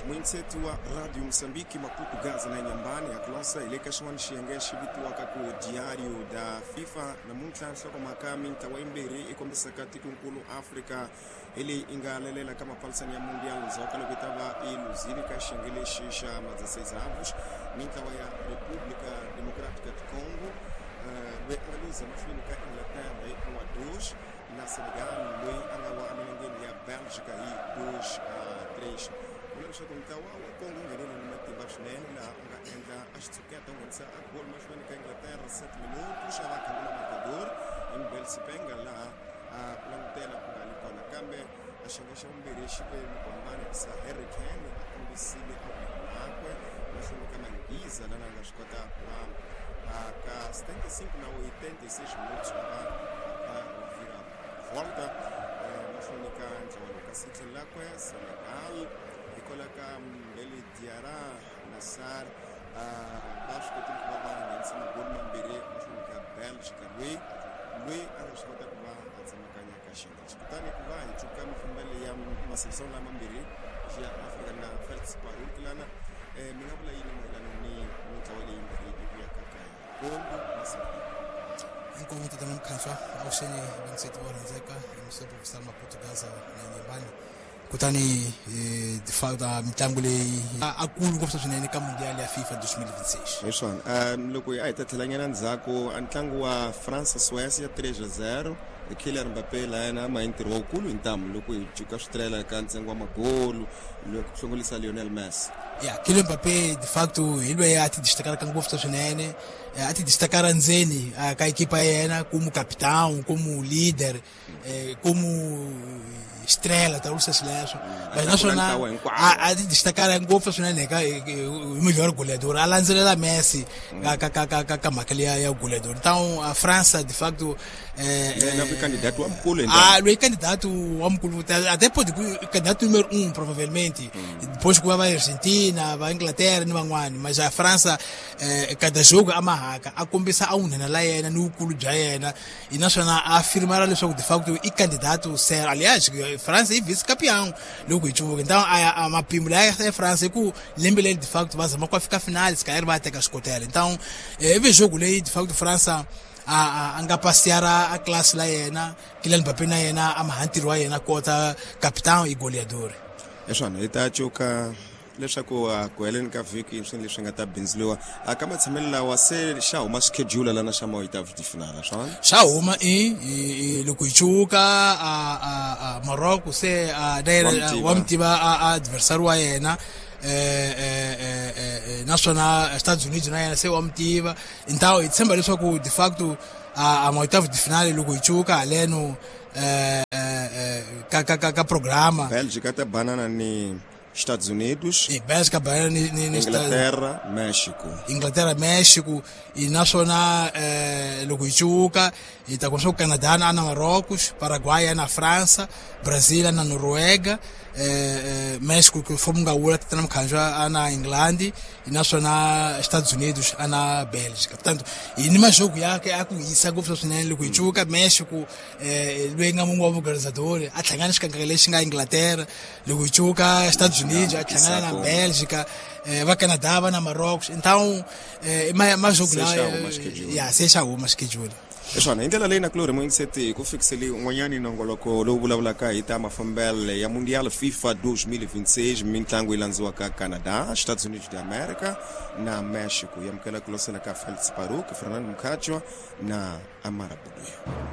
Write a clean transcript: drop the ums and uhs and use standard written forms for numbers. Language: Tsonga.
Muintseti wa Radio Moçambique, Maputo, Gaza na Inhambane, a hi le ka xin'wana xiyenge xi vitiwaka ku Diário da FIFA. Namuntlha nhlokomhaka mintlawa yimbirhi yi kombisaka tikonkulu Afrika hi leyi yi nga lelela ka mapfalisano ya Mundial ndzhaku ka loko yi ta va yi luzile ka xiyenge lexi xa 16avos. Mintlawa ya República Democrática do Congo, loyi a nga luza mahlweni ka Inglaterra hi 1-2, na Senegal loyi a nga wa emilengeni ya Bélgica hi 2-3. Vula leswaku ntlawa wa Congo wu nghenele ni matimba swinene, laha u nga endla a xitshuketa u nghenisa a goal mahlweni ka Inglaterra 7 minutos, a va khangula marcador hi Mbel Sipenga, laha a ku langutela ku nga li kona. Kambe a xiyenge xa vumbirhi xi ve ni ku hambana hikusa Harry Kane a kombisile a vunene mahlweni ka Manghiza, lana a nga swi kota ku va ka 75 na 86 minutos a va a vira volta mahlweni ka ntlawa lowu. Kasi tlhelo lakwe Senegal hikwalaho ka Mbele Diarra na Sarr, va swi kotile ku va va nghenisa magoli mambirhi mahlweni ka Belgica, loyi a nga swi kota ku va a tsemakanya ka xiyenge lexi. Kutani ku va hi cuka mafambelo ya maseleção lamambirhi ya Afrika na Felix Paruk lana, mi nga vula yini mayelana ni mintlawa leyimbirhi yi vuyaka kaya, Congo na Senegal? Inkomu tatana Mkhanswa, avuxeni vanseti vo rhandzeka hi musopo kusala Maputo, Gaza na Inhambane. Kutani ta mitlangu leyi a kulu ngopfu swinene ka Mundial ya FIFA 2026. Hi swona, loko a hi ta tlhelanyana ndzhaku, a ntlangu wa France Suécia 3-0, Kylian Mbappé la yena a mahi ntirho wukulu hi ntamu loko hi cuka switirhela ka ntsengo wa magolu loko ku hlongolisa Lionel Messi. Ya, Kylian Mbappé de facto hi loyi a ti destacaraka ngopfu swinene, a ti destacara ndzeni ka ekipa ya yena como capitão, como líder, como estrela, ta swileswo. But naswona a ti destacara ngopfu swinene ka hi melhor goleador, a landzelela Messi ka mhaka leya ya goleador. Então a França de facto candidato wa mukulu. Ah, loyi candidato wa mukulu, até pode candidato número 1 provavelmente, depois ku va va Argentina, va Inglaterra ni van'wani. Mas a França, cada jogo a mahaka a kombisa a wunhena la yena ni vukulu bya yena, naswona a afirmara leswaku de facto i candidato sério. Aliás, França i vice campeão loko hi cuvuka. Então a mapimo laya ya França i ku lembe leri de facto va zama ku fika finale, se ri va teka xikotela. Então ivi jogo leyi de facto França a nga pasiara a classe la yena, Kylian Mbappé na yena a maha ntirho wa yena kota capitão i goleador. Hi swona, hi ta cuka leswaku ku heleni ka vhiki swilo leswi nga ta bindzuriwa ka matshamelo lawa, se xa huma schedule lana xa ma-oitavos de finale, swona? Xa huma i loko hi cuka a Morocco se na yena wa mi tiva a adversary wa yena, naswona Estados Unidos na yena se wa mi tiva. Então hi tshemba leswaku de facto a ma-oitavos de finale loko hi cuka haleno ka programa. Bélgica ta banana ni Estados Unidos. E Bélgica banana ni Inglaterra, México. Inglaterra, México. E naswona loko hi cuka hi ta kuma swa ku Canada na Marrocos, Paraguay na França, Brazil na Noruega, México ku fomo nga wula tatana Mkhanjwa a na England, naswona Estados Unidos a na Bélgica. Portanto hi ni majogo ya a ku hisa ngopfu swinene. Loko hi cuka México, loyi nga mun'we wa organizador, a hlangana xikangaka lexi nga Inglaterra. Loko hi cuka Estados Unidos a hlangana na Bélgica, va Canada va na Marrocos. Então majogo lawa ya se xa huma schedule. Hi swona, hi ndlela leyi na kulorhi muyingiseti ku fikiseli un'wanyani nongoloko lowu vulavulaka hi ta mafambelo ya Mundial FIFA 2026, mitlangu yi landziwaka Canada, Estados Unidos de America na Mexico. Yi amukela ku losela ka Felix Paruk, Fernando Mkhatshwa na Amara Buduya.